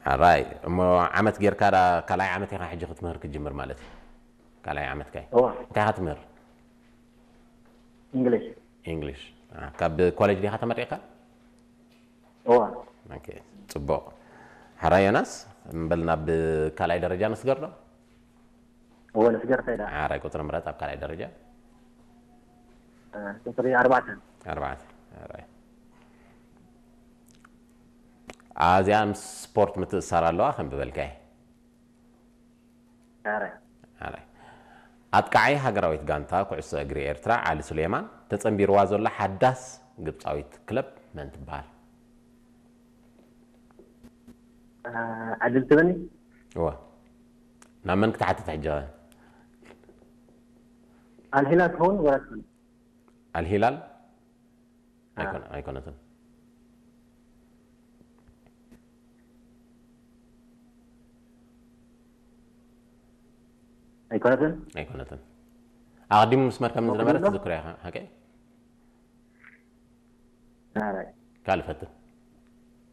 ሕራይ እሞ ዓመት ጌርካ ዳ ካልኣይ ዓመት ኢኻ ሕጂ ክትምህር ክትጅምር ማለት እዩ? ካልኣይ ዓመትካ እዩ። እዋ እንታይ ኢኻ ትምህር? እንግሊሽ እንግሊሽ ካብ ኮሌጅ ዲኻ ተመሪቕካ? እዋ ኦኬ፣ ጽቡቕ። ሕራይ ዮናስ፣ እምበል ናብ ካልኣይ ደረጃ ንስገር ዶ? እወ ንስገር ከይዳ ሕራይ ቁጽሪ ምረጽ ኣብ ካልኣይ ደረጃ። ቁፅሪ ኣርባዕተ ኣርባዕተ። ሕራይ። ኣዚኣ ምስ ስፖርት ምትእስሳር ኣለዋ ከም ዝበልካይ። ኧረ ሕራይ። ኣጥቃዓይ ሃገራዊት ጋንታ ኩዕሶ እግሪ ኤርትራ ዓሊ ሱሌማን ተጸንቢርዋ ዘሎ ሓዳስ ግብጻዊት ክለብ መን ትበሃል? ዕድል ትበኒ እወ። ናብ መን ክትሓትት ሕጂ? ኣልሂላል ትኸውን ወላ ትኸውን ኣልሂላል ኣይኮነ- ኣይኮነትን። ኣይኮነትን ኣይኮነትን። ኣቐዲሙ መስመር ከም ዝነበረ ሞክድሎ? ትዝክሮ ኢኻ ሓቀይ? ኧረ ካልእ ፈትን።